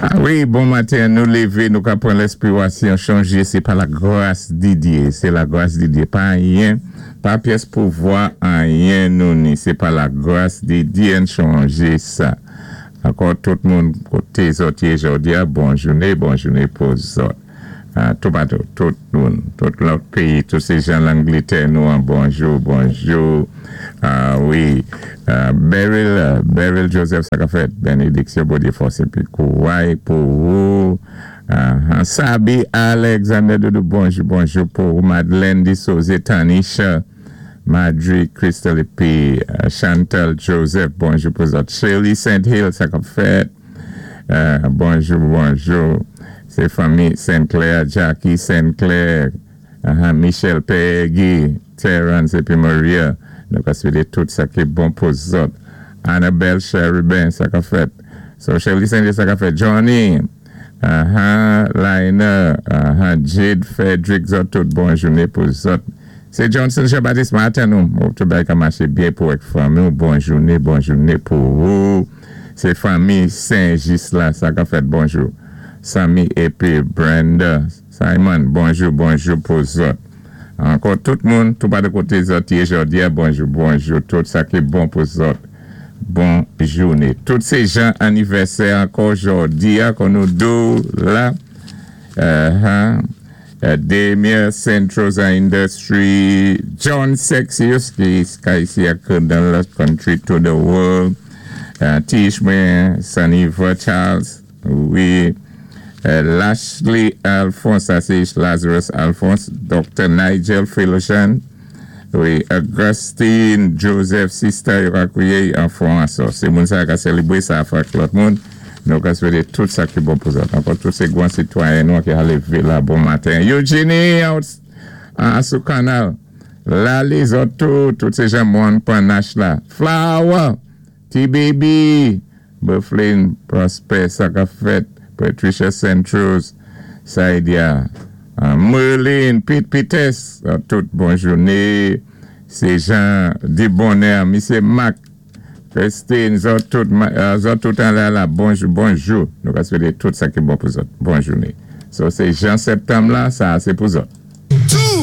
Ah wi, bon maten, nou lévé, nou ka pran lèspirasyon chanjé, sé pa la gras di Dyé, sé la gras di Dyé, pa anyen, pa pyès pouvwa anyen nou ni, sé pa la gras di Dyé n chonjé sa. Ankò tout moun koté zòt yé jòdi-a, bon jouné, bon jouné pou zòt. Toupatou, tout moun, tout lòt péyi, tout sé jan Langlitè nou an, bonjou, bonjou, wi, Beryl, Beryl Joseph sa ka fèt, benediksyon Bondyé fòs épi kouray pou ou, Sabi Alexander Doudou, bonjou, bonjou pou ou, Madeleine Dissoze, Tanisha, Madry Crystal épi Chantal Joseph, bonjou pou zòt, Shirley Saint Hill sa kap fèt. Bonjou bonjou se fanmi Sinclair Jacky Sinclair Michel Peggy Terence epi Maria nou ka swete tout sa ki bon pou zòt Annabelle Cherubin sa kap fèt so Sherley Saint sa kap fèt Johnny Liner Jade Frederick zòt tout bon joune pou zòt se Johnson Jean Baptiste maten nou hope tout bagay ka maché byen pou ak fanmi w bon joune bon joune pou ou. Se fanmi Sen Jis la sa kap fèt bonjou Samy epi Brenda Simon bonjou bonjou pou zòt ankò tout moun toupatou koté zòt yé jòdia bonjou bonjou tout sa ki bon pou zòt bon jouné tout se jan anivèsè ankò jòdia kon nou diw la Demir Sentrosa Industry, John Sexius ki ka isi ak dan lòt country to the world, Tishme Saniva Charles, wi, Lashley Alphonse, sa sé Lazarus Alphonse, Dr. Nigel Philoshan, wi, Augustine Joseph Sister yo ka kwiyé an fwanswa. Sé moun sa ka sélébré sa ak lòt moun. Nou ka swété tout sa ki bon pou zòt. Ankò tout sé gwan sitwayen nou ki alé la bon maten. Eugenie out sou kanal. Lali zòt tou, tout sé jan moun Panache la. Flower, T-Baby, Bufflin, Prosper, sa ka fèt, Patricia Centros, Saidia, Merlin, Pete Pites, tout bon jouné. Sé jan di bonè, Misyé Mac, Christine, zòt tout, zòt tout an la la, bonjou, bonjou. Nou ka swété tout sa ki bon pou zòt. Bon jouné. So, sé jan septanm la, sa sé pou zòt.